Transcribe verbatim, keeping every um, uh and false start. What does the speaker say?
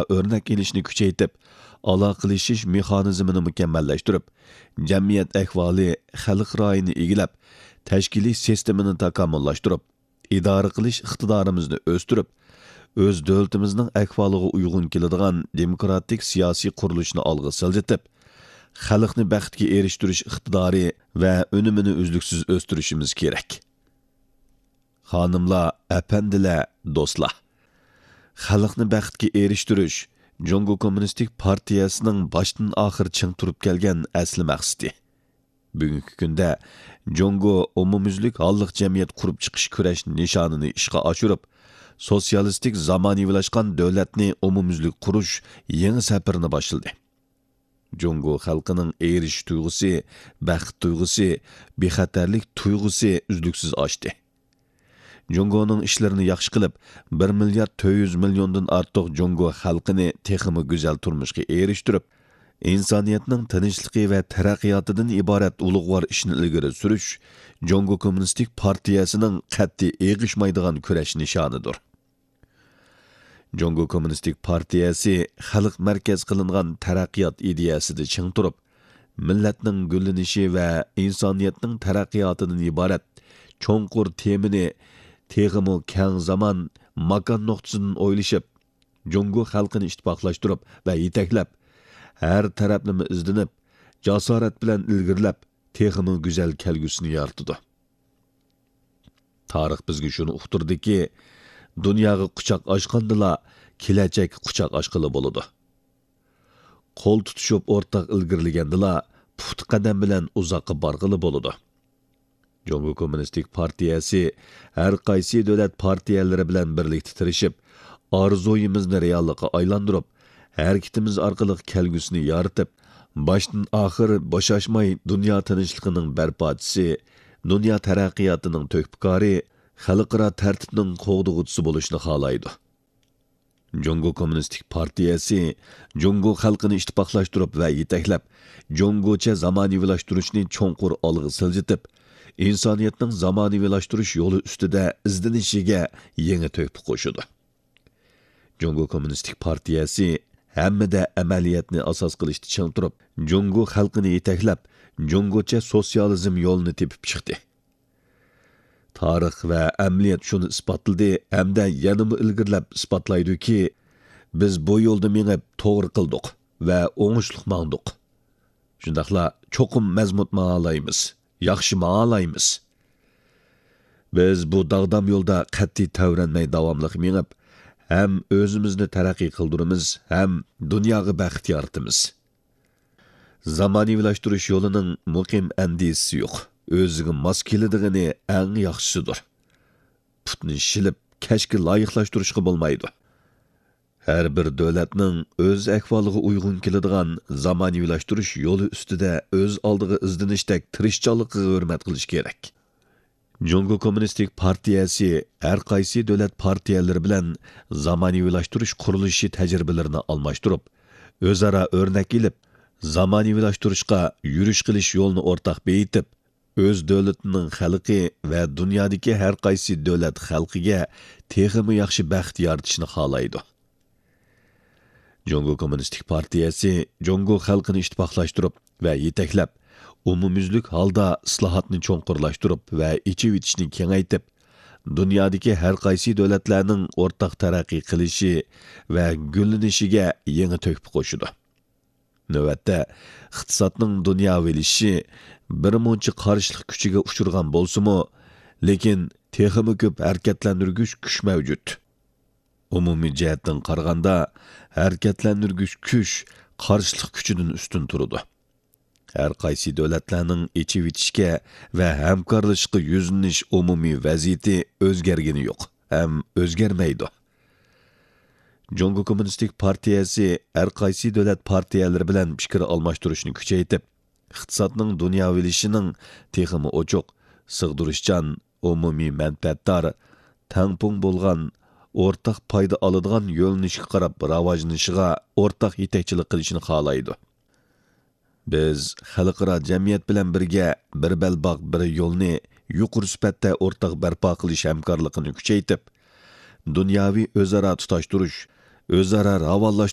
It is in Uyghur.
ئۆرنەك ئېلىشنى كۈچەيتىپ، ئالاقىلىشىش مېخانىزمىنى مۇكەممەللەشتۈرۈپ، جەمئىيەت ئەھۋالى خەلق رايىنى ئىگىلەپ، تەشكىلىي سىستېمىنى تاكامۇللاشتۇرۇپ، ئىدارە قىلىش ئىقتىدارىمىزنى ئۆستۈرۈپ، ئۆز دۆلىتىمىزنىڭ ئەھۋالىغا ئۇيغۇن كېلىدىغان دېموكراتىك سىياسىي قۇرۇلۇشنى ئالغا سىلجىتىپ، خەلقنى بەختكە ئېرىشتۈرۈش ئىقتىدارى ۋە ئۈنۈمىنى ئۈزلۈكسىز ئۆستۈرۈشىمىز كېرەك. خانىملار، ئەپەندىلەر، دوستلار! خەلقنى بەختكە ئېرىشتۈرۈش جۇڭگو كوممۇنىستىك پارتىيەسىنىڭ باشتىن ئاخىر چىڭ تۇرۇپ كەلگەن ئەسلى مەقسىتى. بۈگۈنكى كۈندە جۇڭگو ئومۇميۈزلۈك ھاللىق جەمئىيەت قۇرۇپ چىقىش كۈرەش نىشانىنى ئىشقا ئاشۇرۇپ، سوتسىيالىستىك زامانىۋىلاشقان دۆلەتنى ئومۇميۈزلۈك قۇرۇش يېڭى سەپىرىنى باشلىدى. جۇڭگو خەلقىنىڭ ئېرىشىش تۇيغۇسى، بەخت تۇيغۇسى، بىخەتەرلىك تۇيغۇسى ئۈزلۈكسىز ئاشتى. جۇڭگونىڭ ئىشلىرىنى ياخشى قىلىپ، بىر مىليارد تۆت يۈز مىليوندىن ئارتۇق جۇڭگو خەلقىنى تېخىمۇ گۈزەل تۇرمۇشقا ئېرىشتۈرۈپ، ئىنسانىيەتنىڭ تىنچلىقى ۋە تەرەققىياتىدىن ئىبارەت ئۇلۇغۋار ئىشنى ئىلگىرى سۈرۈش جۇڭگو كوممۇنىستىك پارتىيەسىنىڭ قەتئىي ئېغىشمايدىغان كۈرەش نىشانىدۇر. جۇڭگو كوممۇنىستىك پارتىيەسى خەلق مەركەز قىلىنغان تەرەققىيات ئىدىيەسىدە چىڭ تۇرۇپ، مىللەتنىڭ گۈللىنىشى ۋە ئىنسانىيەتنىڭ تەرەققىياتىدىن ئىبارەت چوڭقۇر تېمىنى تېخىمۇ كەڭ زامان، ماكان نۇقتىسىدىن ئويلىشىپ، جۇڭگو خەلقىنى ئىتتىپاقلاشتۇرۇپ ۋە يېتەكلەپ، ھەر تەرەپلىمە ئىزدىنىپ، جاسارەت بىلەن ئىلگىرىلەپ، تېخىمۇ گۈزەل كەلگۈسىنى يارىتىدۇ. تارىخ بىزگە شۇنى ئۇقتۇردىكى، دۇنياغا قۇچاق ئاچقاندىلا، كېلەچەككە قۇچاق ئاچقىلى بولىدۇ. قول تۇتۇشۇپ ئورتاق ئىلگىرىلىگەندىلا، پۇختا قەدەم بىلەن ئۇزاققا بارغىلى بولىدۇ. جۇڭگو كوممۇنىستىك پارتىيەسى ھەر قايسى دۆلەت پارتىيەلىرى بىلەن بىرلىكتە تىرىشىپ، ئارزۇيىمىزنى رېئاللىققا ئايلاندۇرۇپ، ھەرىكىتىمىز ئارقىلىق كەلگۈسىنى يارىتىپ، باشتىن ئاخىر بوشاشماي دۇنيا تىنچلىقىنىڭ بەرپاچىسى، دۇنيا تەرەققىياتىنىڭ تۆھپىكارى، خەلقئارا تەرتىپنىڭ قوغدىغۇچىسى بولۇشنى خالايدۇ. جۇڭگو كوممۇنىستىك پارتىيەسى جۇڭگو خەلقىنى ئىتتىپاقلاشتۇرۇپ ۋە يېتەكلەپ، جۇڭگوچە زامانىۋىلاشتۇرۇشنى چوڭقۇر ئالغا سىلجىتىپ، ئىنسانىيەتنىڭ زامانىۋىلاشتۇرۇش يولى ئۈستىدە ئىزدىنىشىگە يېڭى تۆھپە قوشىدۇ. جۇڭگو كوممۇنىستىك پارتىيەسى ھەممىدە ئەمەلىيەتنى ئاساس قىلىشتا چىڭ تۇرۇپ، جۇڭگو خەلقىنى يېتەكلەپ، جۇڭگوچە سوتسىيالىزم يولىنى تېپىپ چىقتى. تارىخ ۋە ئەمەلىيەت شۇنى ئىسپاتلىدى ھەمدە يەنىمۇ ئىلگىرىلەپ ئىسپاتلايدۇكى، بىز بۇ يولدا مېڭىپ توغرا قىلدۇق ۋە ئوڭۇشلۇق ماڭدۇق. شۇنداقلا چوقۇم مەزمۇت ماڭالايمىز، ياخشى ماڭالايمىز. بىز بۇ داغدام يولدا قەتئىي تەۋرەنمەي داۋاملىق مېڭىپ، ھەم ئۆزىمىزنى تەرەققىي قىلدۇرىمىز، ھەم دۇنياغا بەخت يارىتىمىز. زامانىۋىلاشتۇرۇش يولىنىڭ مۇقىم ئەندىزىسى يوق، ئۆزىگە ماس كېلىدىغىنى ئەڭ ياخشىسىدۇر. پۇتنى شىلىپ، كەشكە لايىقلاشتۇرۇشقا بولمايدۇ. ھەر بىر دۆلەتنىڭ ئۆز ئەھۋالىغا ئۇيغۇن كېلىدىغان زامانىۋىلاشتۇرۇش يولى ئۈستىدە ئۆز ئالدىغا ئىزدىنىشتەك تىرىشچانلىقىغا ھۆرمەت قىلىش كېرەك. جۇڭگو كوممۇنىستىك پارتىيەسى ھەر قايسى دۆلەت پارتىيەلىرى بىلەن زامانىۋىلاشتۇرۇش قۇرۇلۇشى تەجرىبىلىرىنى ئالماشتۇرۇپ، ئۆزئارا ئۆرنەك ئېلىپ، زامانىۋىلاشتۇرۇشقا يۈرۈش قىلىش يولىنى ئورتاق بېيىتىپ، ئۆز دۆلىتىنىڭ خەلقى ۋە دۇنيادىكى ھەر قايسى دۆلەت خەلقىگە تېخىمۇ ياخشى بەخت يارىتىشنى خالايدۇ. جۇڭگو كوممۇنىستىك پارتىيەسى جۇڭگو خەلقىنى ئىتتىپاقلاشتۇرۇپ ۋە يېتەكلەپ، ئومۇميۈزلۈك ھالدا ئىسلاھاتنى چوڭقۇرلاشتۇرۇپ ۋە ئېچىۋېتىشنى كېڭەيتىپ، دۇنيادىكى ھەر قايسى دۆلەتلەرنىڭ ئورتاق تەرەققىي قىلىشى ۋە گۈللىنىشىگە يېڭى تۆھپە قوشىدۇ. نۆۋەتتە، ئىقتىسادنىڭ دۇنياۋىلىشىشى بىر مۇنچە قارشىلىق كۈچىگە ئۇچرىغان بولسىمۇ، لېكىن تېخىمۇ كۆپ ھەرىكەتلەندۈرگۈچ كۈچ مەۋجۇت. ئومۇمىي جەھەتتىن قارىغاندا، ھەرىكەتلەندۈرگۈچ كۈچ قارشىلىق كۈچىدىن ئۈستۈن تۇرىدۇ. ھەر قايسى دۆلەتلەرنىڭ ئېچىۋېتىشكە ۋە ھەمكارلىشىشقا يۈزلىنىش ئومۇمىي ۋەزىيىتى ئۆزگەرگىنى يوق ھەم ئۆزگەرمەيدۇ. جۇڭگو كوممۇنىستىك پارتىيەسى ھەر قايسى دۆلەت پارتىيەلىرى بىلەن پىكىر ئالماشتۇرۇشنى كۈچەيتىپ، ئىقتىسادنىڭ دۇنياۋىلىشىشىنىڭ تېخىمۇ ئوچۇق، سىغدۇرۇشچان، ئومۇمىي مەنپەئەتدار، تەڭپۇڭ بولغان، ئورتاق پايدا ئالىدىغان يۆنىلىشكە قاراپ راۋاجلىنىشىغا ئورتاق يېتەكچىلىك قىلىشنى خالايدۇ. بىز خەلقئارا جەمئىيەت بىلەن بىرگە بىر بەلباغ، بىر يولنى يۇقىرى سۈپەتتە ئورتاق بەرپا قىلىش ھەمكارلىقىنى كۈچەيتىپ، دۇنياۋى ئۆزئارا تۇتاشتۇرۇش، ئۆزئارا راۋانلاش